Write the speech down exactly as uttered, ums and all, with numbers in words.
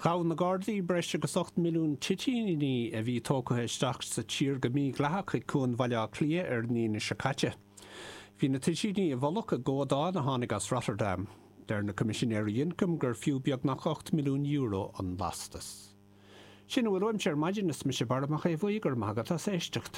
Ghabh na Gardaí breis agus ocht milliún toitíní a bhí tógtha isteach sa tír go mídhleathach ag Cuan Bhaile Átha Cliath ar an Aoine seo caite. Bhí na toitíní i bhfolach i gcomhadán a tháinig as Rotterdam. Deir na Coimisinéirí Ioncaim gur fiú beagnach ocht milliún euro an lastas. Sin a bhfuil uaimse ar maidin is mise Barra Mac Aodha Bhuí go raibh maith agat as éisteacht.